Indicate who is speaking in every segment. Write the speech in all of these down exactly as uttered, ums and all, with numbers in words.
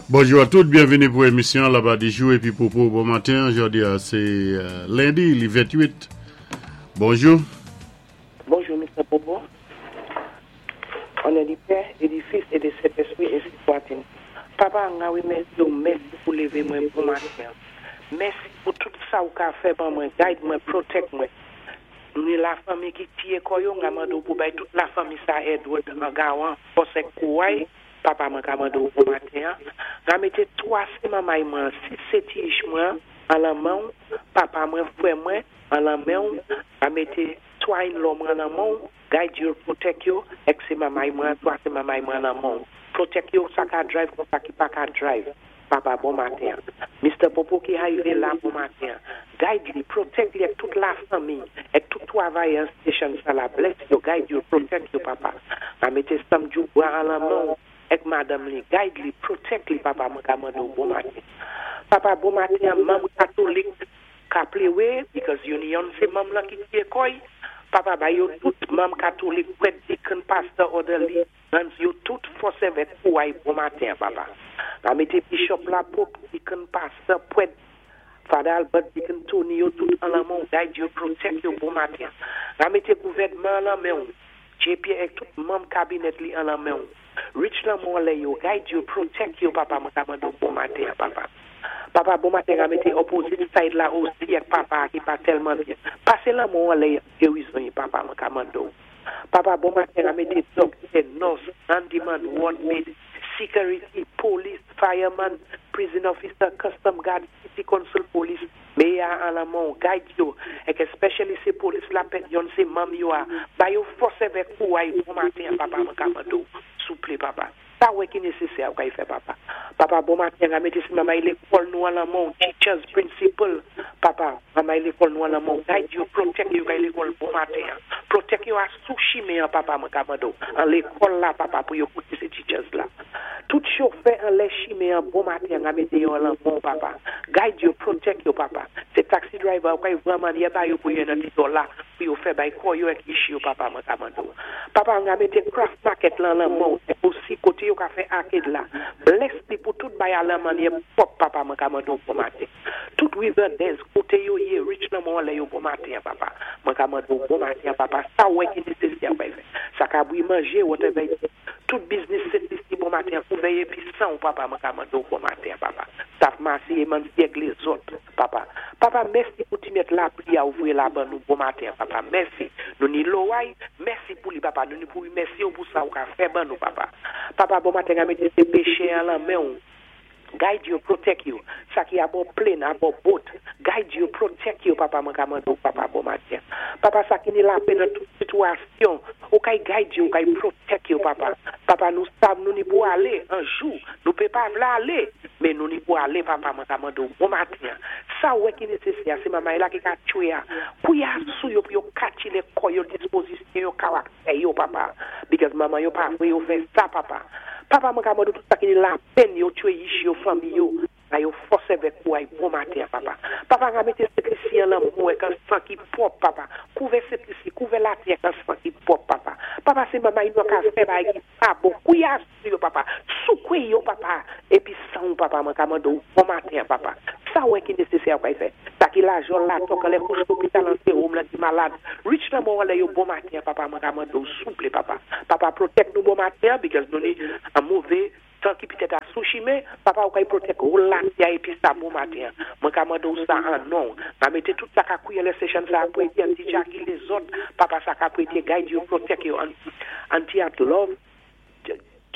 Speaker 1: Bonjou a tout, byenvini pou émisyon Laba Dijou épi Popo. Bon maten, jòdi a sé euh, lendi, li ventwit. Bonjou.
Speaker 2: Bonjou, Mister Popo. O non di Pè é di Fis é di Sentèspwi, ensi swat-il. Papa, nga wimèsi ou, mèsi pou lévé mwen bon maten. Mèsi pou tout sa ou ka fè ban mwen, guide mwen, protect mwen. Nou ni lafanmi ki tiyé kò yo, nga mandé ou pou bay tout lafanmi sa Edward an gawan, fòs èk kouway, papa mwen ka mandé ou bon maten. Nga mété twa sé mamay mwen, sis sé ti ich mwen, an lan men ou, papa mwen, fwè mwen, an lan men ou, nga mété twa in-law mwen an lan men ou, guide yo, protect yo, èk sé mamay mwen, twa sé mamay mwen an lan men ou. Protect yo, sa ka drive kon sa ki pa ka drive. Papa, bon maten. Mister Popo ki arivé la, bon maten. Guide li, protect li èk tout lafanmi, èk tout twavayè station sa la. Bless yo, guide yo, protect yo, papa. A mété Sam Djoubra an lan men ou, èk madanm li. Guide li, protect li, papa, mwen ka mandé ou bon maten. Papa, bon maten, manm katolik ka pléwé, because union sé manm lan ki tiyé kò i. Papa, bay yo tout manm katolik, prèt, deacon, pastor, orderly, nuns, yo tout fòs avèk kouway bon maten, papa. A mété bishop la, pope, deacon, pastor, prèt, Father Albert, deacon Tony, yo tout an lan men ou, guide yo, protect yo bon maten. A mété gouvèdman an lan men ou, J P èk tout manm kabinèt li an lan men ou. Reach lan men lè yo, guide yo, protect yo, papa, mwen ka mandé ou bon maten, papa. Papa, bon maten, a mété opposite side la osi èk papa ki pa tèlman byen. Pasé lan men lè gerizon, papa, mwen ka mandé ou. Papa, bon maten, a mété doctor, nurse, handyman, ward maid, security, police, fireman, prison officer, custom guard, city council police, mayor an lan men ou, guide yo, èk especially sé police la pèt yon sé manm yo a, ba yo fòs avèk kouway bon maten, papa, mwen ka mande ou, souplé, papa. Sa wè ki nésésè ou ka y fè, papa. Papa, bon maten, a mété sé mamay lékòl nou an lan men ou, teachers, principal, papa, mamay lékòl nou an lan men ou, guide yo, protect yo kay lékòl bon maten. Protect yo a sou chimen, papa, mwen ka mande ou. An lékòl la, papa, pou yo kouté sé teachers la. Tout chofè an lè chimen bon maten, a mété yo an lan men ou, papa. Guide yo, protect yo, papa. Se taxi driver, ou kay vrèman yé ba yo pou yo nan ti dola, pou yo fè bay kò yo èk ishi yo, papa, mwen ka mande ou. Papa, an a mété craft market lan lan men ou, osi koté yo ka fè arcade la. Bless li pou tout bay a lan manyè pwòp, papa, mwen ka mande ou bon maten. Tout Riverdance, koté yo yé, reach nan men lè yo bon maten, papa. Mwen ka mande ou bon maten, papa. Sa wè ki nésésè ou fè. Sa ka bwi manjé, whatever. Tout business set ici bon maten, kouvè épi san ou, papa, mwen ka mande ou bon maten, papa. Staff masi e man ak lézòt, papa. Papa, mèsi pou ti mèt lapli a ouvri la ban nou bon maten, papa. Mèsi. Nou ni loway, mèsi pou li, papa. Nou ni pou mèsi ou pou sa ou ka fè ban nou, papa. Papa, bon maten, a mété sé péchè an lan men ou. Guide you, protect you. Sa ki abò plane, abò boat. Guide you, protect you, papa, mwen ka mande ou, papa, bon maten. Papa, sa ki ni lapèn nan tout sitiyasyon, ou kay guide you, ou kay protect you, papa. Papa, nou sav nou ni pou alé, an jou, nou pé pa vlé alé, men nou ni pou alé, papa, mwen ka mande ou, bon maten. Sa wè ki nésésè, sé mamay la ki ka tchwé a, pou ya sou yo, pou yo kati lé kò yo, dispozisyon yo, karaktè yo, papa. Because maman yo pa vwé yo fè sa, papa. Papa, mwen ka mande ou tout sa ki ni lapèn yo, tchwé ishi yo, fanmi yo, a yo fòs avèk kouway bon maten, papa. Papa, nga mété Sent Lisi an lan men èk an san ki pwòp, papa. Kouvè Sent Lisi, kouvè latè èk an san ki pwòp, papa. Papa, sé mamay nou ka fè bay ki pa bon. Kouya sou yo, papa. Soukwe yo, papa. Épi san ou, papa, mwen ka mande ou bon maten, papa. Sa wè ki nésésè ou kay fè. Sa ki la jol la tok, an lè kouch lopital an sé home la ki malad. Reach nan men lè yo bon maten, papa, mwen ka mande ou souplé, papa. Papa, protect nou bon maten, because nou ni an mové tan ki pitèt a sou chimen, papa, ou kay protect ou la ya épi sa bon maten. Mwen ka mande ou sa an non. Ma mété tout sa ka kouye lè session sa apwete, anti Jackie lézòt, papa, sa ka apwete, guide you, protect you, anti at love,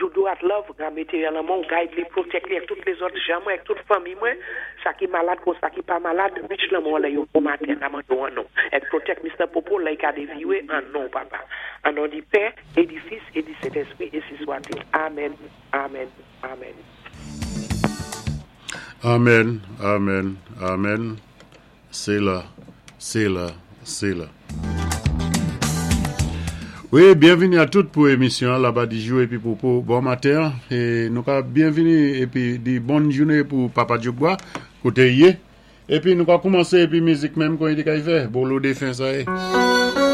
Speaker 2: Doudou at love, nga mété yon lan men ou, guide li, protect li, èk tout lézòt jan mwen, èk tout fanmi mwen, sa ki malad kon sa ki pa malad, reach lan men lè yo bon maten, nga mande ou an non. Èk protect Mister Popo, lè ka deviwe an non, papa. An non di Pè, é di Fis, é di Sentèspwi, ensi swat-il. Amen, amen, amen.
Speaker 1: Amen, amen, amen. C'est là, c'est là, c'est là. Wi, byenvini a tout pou émisyon Laba Dijou épi Popo. Bon maten é nou ka byenvini épi di bòn jounen pou Papa Djougwa koté yé. Épi nou ka koumansé épi mizik menm kon i di ka y fè. Bolo défen sa yé.